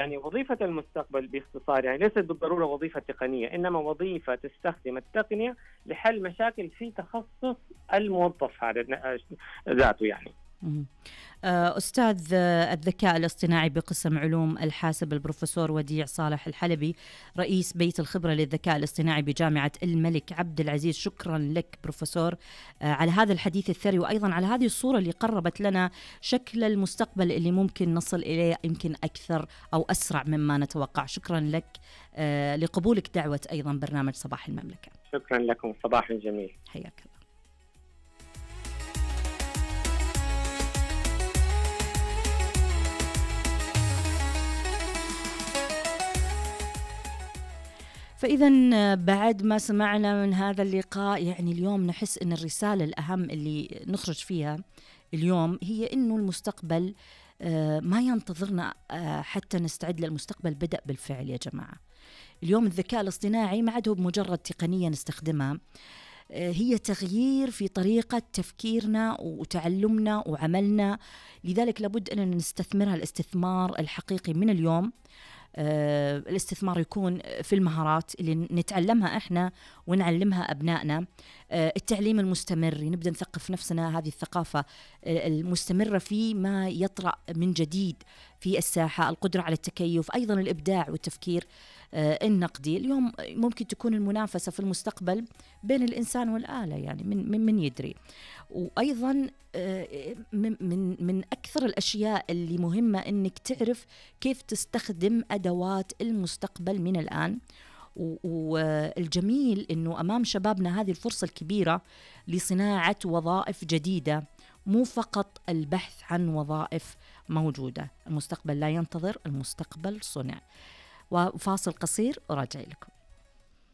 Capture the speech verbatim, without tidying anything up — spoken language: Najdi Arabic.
يعني وظيفة المستقبل باختصار يعني ليست بالضرورة وظيفة تقنية، إنما وظيفة تستخدم التقنية لحل مشاكل في تخصص الموظف هذا ذاته يعني. أستاذ الذكاء الاصطناعي بقسم علوم الحاسب البروفيسور وديع صالح الحلبي، رئيس بيت الخبرة للذكاء الاصطناعي بجامعة الملك عبد العزيز، شكرا لك بروفيسور على هذا الحديث الثري، وأيضا على هذه الصورة اللي قربت لنا شكل المستقبل اللي ممكن نصل إليه يمكن أكثر أو أسرع مما نتوقع. شكرا لك لقبولك دعوة أيضا برنامج صباح المملكة. شكرا لكم، صباح جميل. حياك الله. فإذا بعد ما سمعنا من هذا اللقاء يعني اليوم نحس أن الرسالة الأهم اللي نخرج فيها اليوم هي أنه المستقبل ما ينتظرنا حتى نستعد للمستقبل، بدأ بالفعل يا جماعة. اليوم الذكاء الاصطناعي ما عاد هو بمجرد تقنية نستخدمها، هي تغيير في طريقة تفكيرنا وتعلمنا وعملنا، لذلك لابد أن نستثمرها الاستثمار الحقيقي من اليوم. آه، الاستثمار يكون في المهارات اللي نتعلمها إحنا ونعلمها أبنائنا، آه، التعليم المستمر، نبدأ نثقف نفسنا، هذه الثقافة المستمرة في ما يطرأ من جديد في الساحة، القدرة على التكيف، أيضا الإبداع والتفكير آه، النقدي. اليوم ممكن تكون المنافسة في المستقبل بين الإنسان والآلة، يعني من من, من يدري. وأيضا آه، من من من أكثر الأشياء اللي مهمة إنك تعرف كيف تستخدم أدوات المستقبل من الآن. والجميل إنه أمام شبابنا هذه الفرصة الكبيرة لصناعة وظائف جديدة، مو فقط البحث عن وظائف موجودة. المستقبل لا ينتظر، المستقبل صنع. وفاصل قصير وراجع لكم.